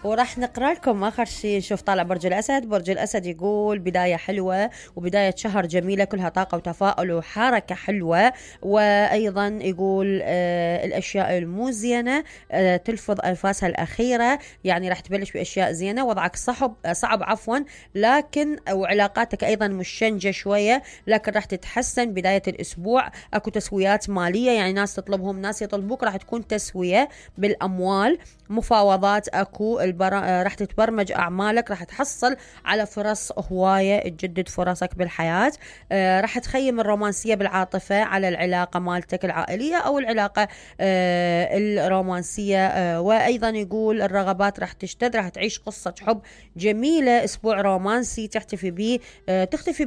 وراح نقرأ لكم آخر شيء. نشوف طالع برج الأسد. برج الأسد يقول بداية حلوة وبداية شهر جميلة كلها طاقة وتفاؤل وحركة حلوة. وأيضا يقول الأشياء المزينة تلفظ أنفاسها الأخيرة، يعني راح تبلش بأشياء زينة. وضعك صعب عفوا، لكن وعلاقاتك أيضا مشنجة شوية، لكن راح تتحسن. بداية الأسبوع أكو تسويات مالية، يعني ناس تطلبهم ناس يطلبوك، راح تكون تسوية بالأموال. مفاوضات أكو راح تتبرمج أعمالك، راح تحصل على فرص هواية، تجدد فرصك بالحياة. راح تخيم الرومانسية بالعاطفة على العلاقة مالتك العائلية أو العلاقة الرومانسية. وأيضا يقول الرغبات راح تشتد، راح تعيش قصة حب جميلة، أسبوع رومانسي تختفي به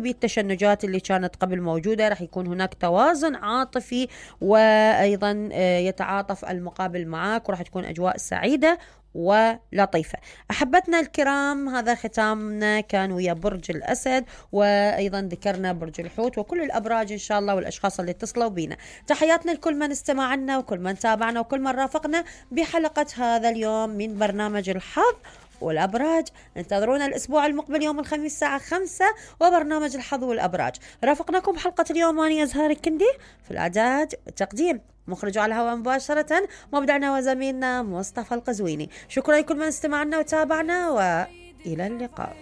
التشنجات اللي كانت قبل موجودة. راح يكون هناك توازن عاطفي، وأيضا يتعاطف المقابل معك، وراح تكون أجواء سعيدة ولطيفة. أحبتنا الكرام، هذا ختامنا كان ويا برج الأسد، وأيضا ذكرنا برج الحوت وكل الأبراج إن شاء الله والأشخاص اللي اتصلوا بينا. تحياتنا لكل من استمعنا وكل من تابعنا وكل من رافقنا بحلقة هذا اليوم من برنامج الحظ والأبراج. انتظرونا الأسبوع المقبل يوم الخميس الساعة 5 وبرنامج الحظ والأبراج. رافقناكم بحلقة اليوم أنا أزهار الكندي في الإعداد والتقديم، مخرج على الهواء مباشرة مبدعنا وزميلنا مصطفى القزويني. شكرا لكل من استمعنا وتابعنا، وإلى اللقاء.